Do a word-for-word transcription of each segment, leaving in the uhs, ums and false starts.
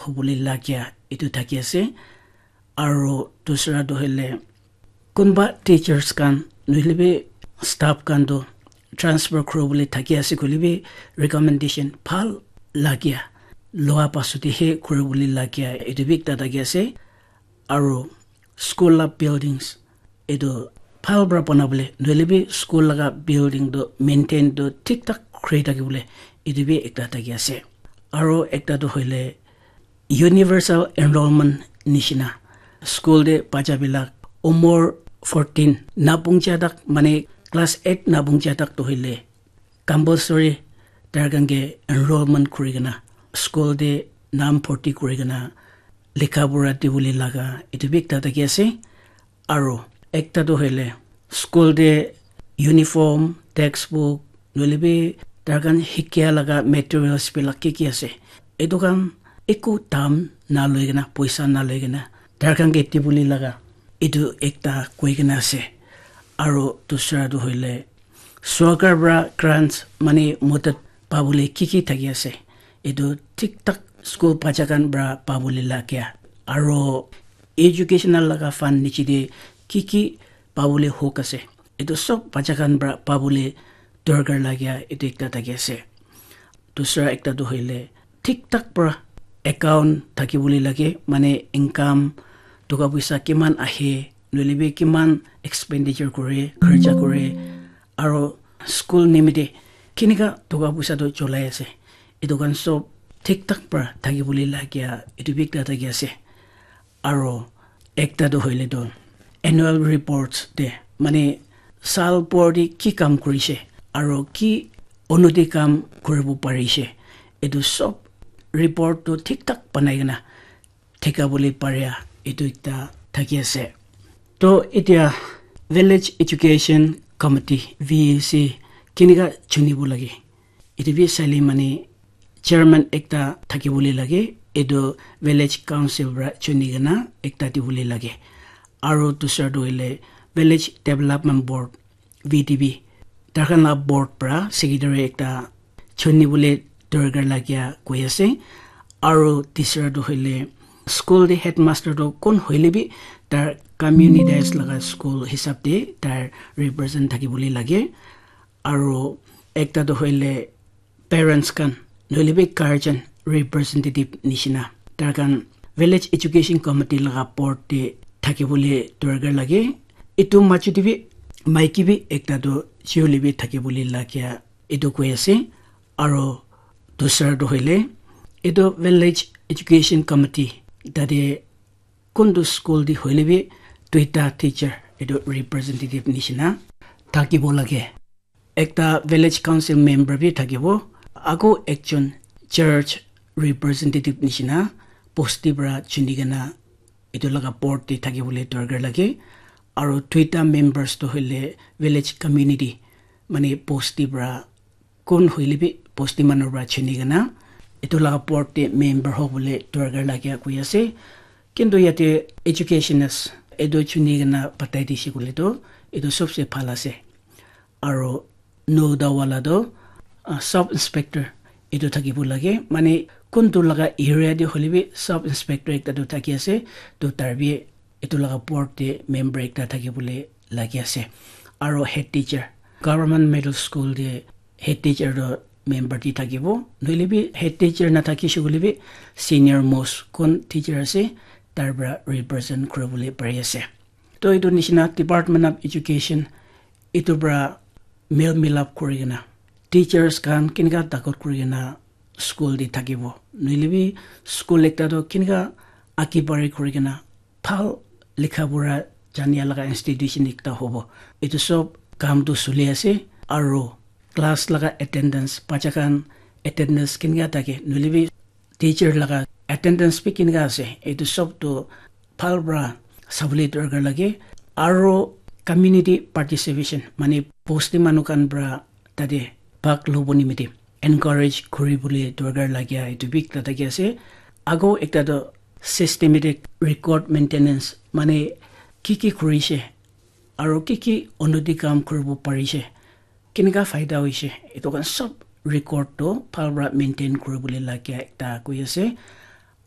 hobole lagia etu thaki ase. Aro dusra tu hoile kunba teachers khan nohile bi staff khan tu transfer kuribole thaki ase koile bi recommendation bhal lagia loa pasot he kuribole lagia etu bi ekta thaki ase. Aro school la buildings etu bhal para banabole nohile bi school laga building tu maintain tu thik thak kuri thakibole etu bi ekta thaki ase. Aro ekta tu hoile universal enrollment nishina school te bacha bilak umor fourteen na pungcha tak mane class eight na pungcha tak tu hoile compulsory tar khan ke enrollment kuri kena school te nam bharti kuri kena likha pura dibole laga etu bi ekta thaki ase. Aro ekta tu hoile school te uniform, textbook nohole bi tar khan hikia laga materials bilak ki ki ase etu khan eku dam na loi kena poisa na loi kena tar khan ke dibole laga etu ekta koi kena ase. Aro dusra tu hoile sorkar para grants mane madad pabole ki ki thaki ase etu thik thak school bacha khan para pabole lagia aro educational laga fund niche te ki ki pabole hok ase etu sob bacha khan para pabole dorkar lagia etu ekta thaki ase. Dusra ekta tu hoile thik thak para account thakibole lage mane income toka poisa kiman ahe nohole bi kiman expenditure kore kharcha kore aro school nimite kenika toka poisa tu cholai ase etu khan sob thik thak para thakibole lagia etu bi ekta thaki ase. Aro ekta tu hoile tu annual reports te mane sal bhor te ki kam kurishe aro ki unoti kam kuribo parishe etu sob report tu thik thak banai kena thika bole paria etu ekta thaki ase. To etia village education committee V E C kenika chunibo lage etu bi saile mane chairman ekta thakibole lage etu village council para chuni kena ekta dibole lage. Aro dusra tu hoile village development board V D B tar khan la board para secretary ekta chuni bole dorkar lagia koi ase. Aro tisra tu hoile school te headmaster tu kon hoile bi tar community laga school hisab te tar represent thakibole lage. Aro ekta tu hoile parents khan nohole bi guardian representative nishina tar khan village education committee laga board te thakibole dorkar lage. Etu majo te bi maiki bi ekta tu chiuli bi thakibole lagia etu koi ase. Aro dusra tu hoile etu village education committee tate kuntu school te hoile bi duita teacher etu representative nishina thakibo lage. Ekta village council member bi thakibo, ako ekjon church representative nishina bosti para chuni kena etu laga board te thakibole dorkar lage. Aro duita members tu hoile village community mane bosti para kun hoile bi bosti manu para chuni kena etu laga board te member hobole dorkar lagia koi ase. Kintu yate educationist etu chuni kena batai dise koile tu etu sobse bhal ase. Aro nouda wala tu ah, sub inspector etu thakibo lage mane kuntu laga area te hoile bi sub inspector ekta tu thaki ase. To tar bi etu laga board te member ekta thakibole lagi ase. Aro head teacher government middle school te head teacher tu member te thakibo nohole bi head teacher nathakishe koile bi senior most kon teacher ase tar para represent kuribole pari ase. To etu nishina department of education etu para mel milap kuri kena teachers khan kenika takot kuri kena school te thakibo nohole bi school ekta tu kenika agi bari kuri kena bhal likha pura jania laga institution ekta hobo. Etu sob kam tu suli ase aro class laga attendance bacha khan attendance kenika thake nohole bi teacher laga attendance bi kenika ase etu sob tu bhal para sabole dorkar lage. Aro community participation mane bosti manu khan para tate bhag lobo nimite encourage kuribole dorkar lagia etu bi ekta thaki ase. Ago ekta tu systematic record maintenance mane ki ki kurishe aro ki ki unnoti kam kuribo parishe kenika faida hoishe etu khan sob record tu bhal para maintain kuribole lagia ekta koi ase.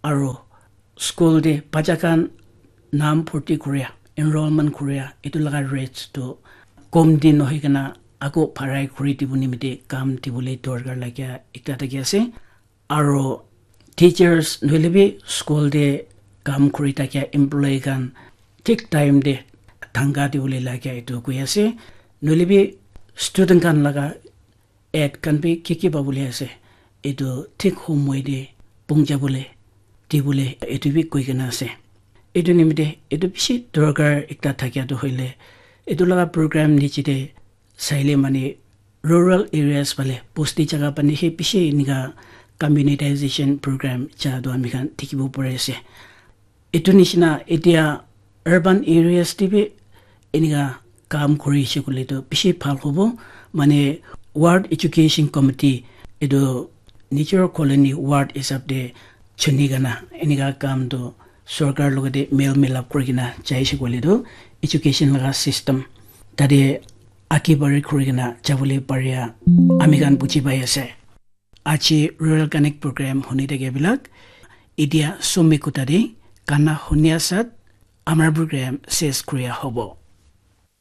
aro school te bacha khan nam bharti kuria, enrollment kuria, etu laga rates tu kom din nohoi kena ako bharai kuri dibo nimite kam dibole dorkar lagia ekta thaki ase. Aro teachers nohole bi school te kam kuri thakia employee khan thik time te thangka dibole lagia etu koi ase. Nohole bi student khan laga ad khan bi ki ki pabole ase, etu thik homoi te puncha bole dibole etu bi koi kena ase. Etu nimite etu bishi dorkar ekta thakia tu hoile, etu laga program niche te saile mane rural areas phale bosti jaga phane he bishi enika communitization program cha tu ami khan dikhibo pari ase. Etu nishina etia urban areas te bi enika kam kuri ase koile tu bishi bhal hobo. Mane ward education committee etu nijor colony ward hisab te chuni kena enika kam tu sorkar logote mel milap kuri kena jai ase koile tu education laga system tate age bari kuri kena jabole paria ami khan buji pai ase. Aji Rural Connect program huni thake bilak etia somi kuta te gana huni asat amar program ses kuria hobo.